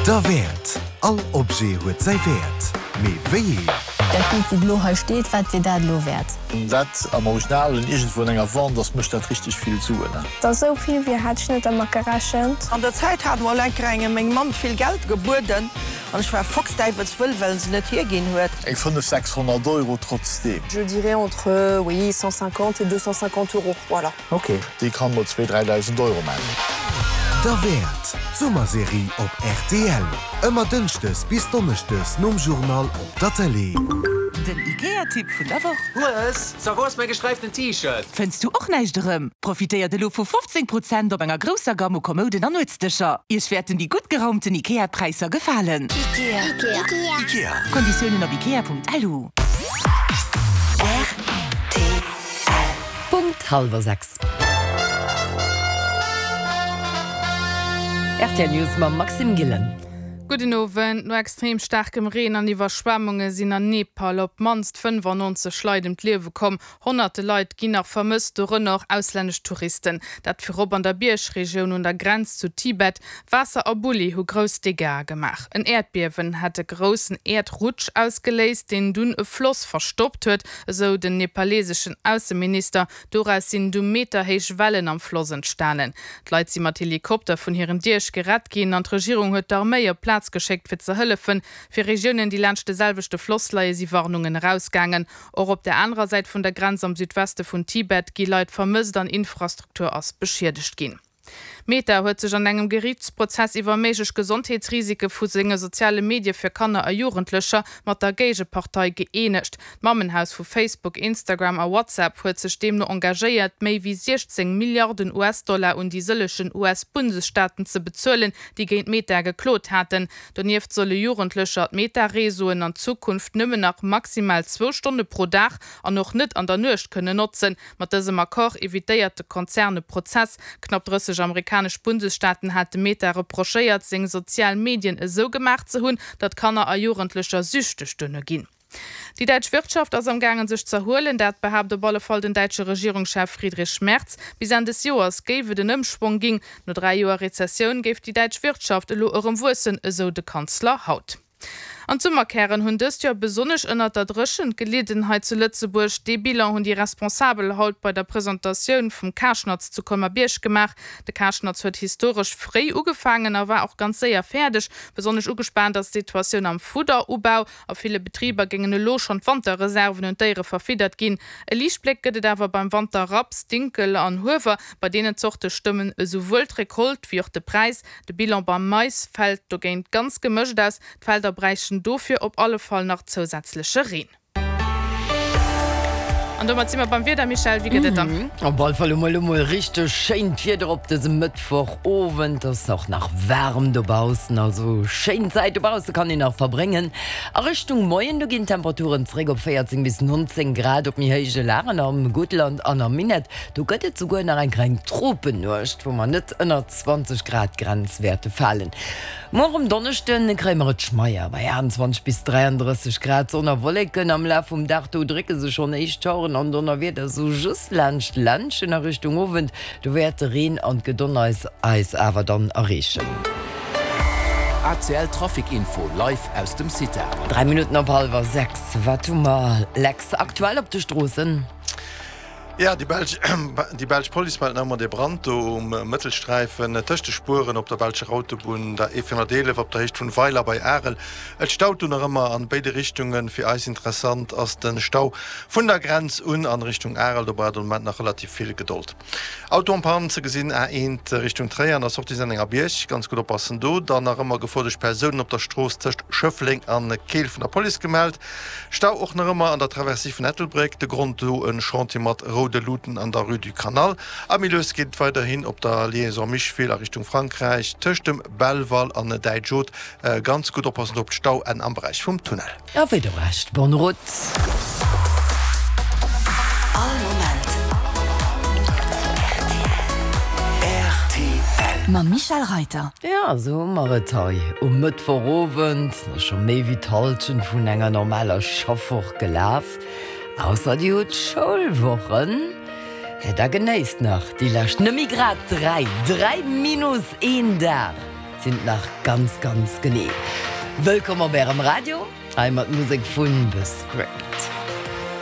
Derwäert! All Objet huet säi Wäert, mee wéi een? Dat Bild wou elo hei steet, wat wier dat elo wäert? Dat am Original en iergendwou an enger Wand ass, mécht dat richteg vill Suen. Et ass esou vill wéi hat ech net dermat gerechent. An der Zäit hat mol enker engem meng Mamm vill Geld gebueden an ech war foxdäiwelswëll, well se net hierginn huet. Eng 5, 600 Euro trotzdeem. Je dirais entre, oui, 150 et 250 euros, voilà. Ok. Déi kann mol zwee, 3.000 Euro man. Derwäert, d'Summerserie op rtl. Ëmmer dënschdes bis donneschdes nom Journal op der Tëlee. Den Ikea-Tipp vun der Woch. Hues, so wou ass mäi gesträiften T-Shirt? Fënns du och näischt erëm? Profitéiert elo vu 15 Prozent op enger grousser Gamme u Kommouden an Nuetsdëscher. Iech wäerten déi gutt geraumten Ikea-Präisser gefalen. Ikea. Ikea. Konditiounen op ikea.lu. Punkt hallwer 6. Rtl News mam Maxime Gillen. Gudden Owend. No extrem staarkem Reen an Iwwerschwemmunge sinn an Nepal op d'mannst 95 Leit ëm d'Liewe komm. Honnerte Leit ginn nach vermësst, dorënner och auslännesch Touristen. Dat virop an der Biergregioun un der Grenz zu Tibet. Waasser a Bulli hu grouss Dégâtsë gemaach. En Äerdbiewen hätt e groussen Äerdrutsch ausgeléist, deen dunn e Floss verstoppt huet. Esou den nepaleseschen Ausseminister. Doraus sinn du meterhéich Wellen am Floss entstanen. D'Leit si mat Helikopter vun hiren Diech gerett ginn an d'Regierung huet d'Arméi op d'Plaz geschéckt fir ze hëllefen. Fir Regiounen, déi laanscht de selwechte Floss leie si Warnungen erausgaangen. Och op der anerer Säit vun der Grenz am Südweste vun Tibet gi Leit vermësst an Infrastruktur ass beschiedegt ginn. Meta huet sech an engem Geriichtsprozess iwwer méiglech Gesondheetsrisike vu senge soziale Medie fir Kanner a Jugendlecher mat der Géigepartei gëeenegt. D'Mammenhaus vu Facebook, Instagram a WhatsApp huet sech deemno engagéiert, méi wéi 16 Milliarden US-Dollar un déi sëllegen US-Bundesstaaten ze bezuelen, déi géint Meta geklot haten. Donieft solle Jugendlecher d'Meta-Reseauen an Zukunft nëmmen nach maximal zwou Stonne pro Dag an och net an der Nuecht kënnen notzen. Mat dësem Accord evitéiert de Konzern e Prozess. Knapp 30 amerikanesch Bundesstaaten hate Meta reprochéiert, seng sozial Medien esou gemaach ze hunn, datt Kanner a Jugendlecher süchteg duerno ginn. Déi däitsch Wirtschaft ass am gaangen sech z'erhuelen, dat behaapt op alle Fall den däitsche Regierungschef Friedrich Merz. Bis Enn des Joers géif et en Ëmschwong ginn. No 3 Joer Rezessioun géif déi däitsch Wirtschaft elo erëm wuessen, esou de Kanzler haut. An d'Summerkären hunn dëst Joer besonnesch ënnert der Dréchent gelidden hei zu Lëtzebuerg. Dee Bilan hunn déi Responsabel haut bei der Presentatioun vum Karschnatz zu Colmer-Bierg gemaach. De Karschnatz huet historesch fréi ugefaangen a war och ganz séier fäerdeg. Besonnesch ugespaant ass d'Situatioun am Fudderubau. A ville Betriber géingen elo schonn d'Wanterreserven un d'Déiere verfiddert ginn. E Liichtbléck gëtt et awer beim Wanterraps, Dinkel an Huewer. Bei deenen Zorte stëmmen esouwuel d'Recolte wéi och de Präis. De Bilan beim Mais fält dogéint ganz gemëscht aus, d'Felder bräichten dofir op alle Fall nach zousätzleche Reen. An domat si mer beim Wieder, Michèle, wéi gëtt et dann? Op alle Fall hu mer elo mol richteg schéint Wieder op dësem Mëttwochowend. Et ass och nach waarem dobaussen, also schéin Zäit dobausse kann een nach verbréngen. A Richtung Moien du ginn d'Temperaturen zeréck op 14 bis 19 Grad, op méi héije Lagen am Guttland an am Minett do gëtt et souguer nach eng kleng Tropennuecht, wou mer net ënnert 20 Grad Grenz wäerte falen. Muer um Donneschde kréie mer et schmeier bei 28 bis 33 Grad. Sonn a Wolleken am Laf vum Dag, do drécke sech schonn éischt Schaueren an Donnerwieder sou just laanscht d'Ländchen. A Richtung Owend, do wäert de Reen an d'Gedonneis eis awer dann erreechen. ACL Trafic Info live aus dem CITA. 3 Minutten op hallwer 6, wat hu mer, Lex, aktuell op de Stroossen? Jo, déi belsch, déi belsch Police mellt nach ëmmer dee Brand do um Mëttelsträifen tëscht de Spueren op der belscher Autobunn, der E411 op der Héicht vun Weiler bei Arel. Et staut do nach ëmmer an béide Richtungen. Fir eis interessant ass de Stau vun der Grenz un an Richtung Arel. Do braucht een am Moment nach relativ vill Gedold. Auto en panne ze gesinn, A1 Richtung Tréier an der Sortie Sennengerbierg. Ganz gutt oppassen do. Dann nach ëmmer Gefor duerch Persounen op der Strooss tëscht Schëffleng an Keel vun der Police gemellt. Stau och nach ëmmer an der Traversée vun Ettelbréck, de Grond do en Chantier mat roude Luuten an der Rue du Canal. A méi lues geet et weiderhin op der Liaison Micheville a Richtung Frankräich tëscht dem Belval an Däitsch-Haute. Ganz gutt oppassen do op d'Stauenn am Beräich vum Tunnel. A wéi de Rescht, bonne route! All Moment rtl. Mam Michèle Reiter. Jo, esou hu mer et hei um Mëttwochowend. Et ass scho méi wéi d'Hallschent vun enger normaler Schaffwoch gelaf. Ausser dir hutt Schoulwochen, da genéisst nach déi lescht, nëmme grad 3, 3 minus een Dag. sinn et nach ganz, ganz genee. Wëllkomm op Ärem Radio, hei mat Musek vun The Script.